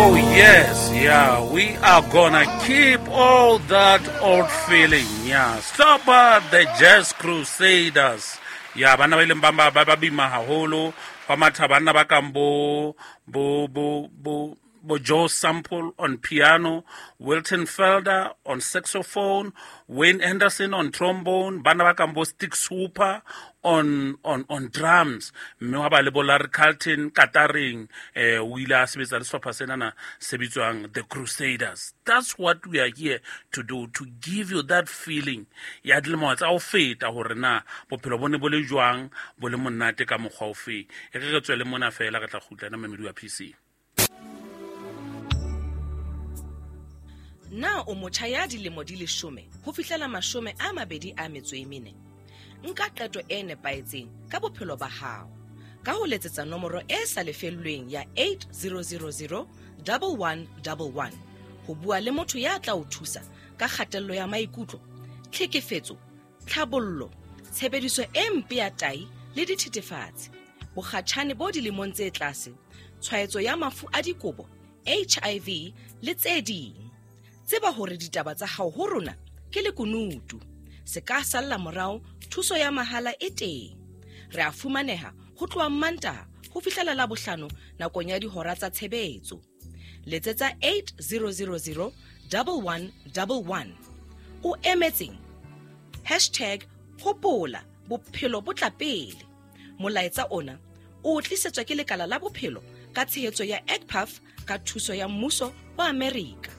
Oh yes, yeah, we are gonna keep all that old feeling. Yeah, stop at the Jazz Crusaders. Yeah, banna ba ileng ba ba ba bima haholo, ba matha banna ba kang bo bo bo bo bo Joe Sample on piano, Wilton Felder on saxophone, Wayne Anderson on trombone, banna ba kang bo Stick Hooper on drums, mme wa ba le bo Larry Carlton kataring, o ile a sebetsa le sehlopha senana se bitswang The Crusaders. That's what we are here to do, to give you that feeling ya dilemo tsa ho feta hore na bophelo bo ne bo le jwang, bo le monate ka mokgwa ofe. E re re tswele mona fela, re tla kgutla na mamedi wa PC. Na o motjha ya dilemo di 10 ho fihlela 24? Nka qeto e nepahetseng ka bophelo ba hao ka ho letsetsa nomoro e sa lefellweng ya 8000 1111 ho bua le motho ya tla o thusa ka kgatello ya maikutlo, tlhekefetso, tlhabollo, tshebediso e mpe ya tai le dithethefatsi, bokgatjhane bo dilemong tse tlase, tshwaetso ya mafu a dikobo, HIV le tse ding. Tseba hore ditaba tsa hao ho rona ke lekunutu. Se ka salla morao, thuso ya mahala e teng. Re a fumaneha ho tloha Mantaha ho fihlela Labohlano nakong ya dihora tsa tshebetso. Letsetsa 8000 1111. O emetseng? Hashtag hopola bophelo bo tla pele. Molaetsa ona o tlisetswa ke lekala la bophelo ka tshehetso ya EGPAF ka thuso ya mmuso wa Amerika.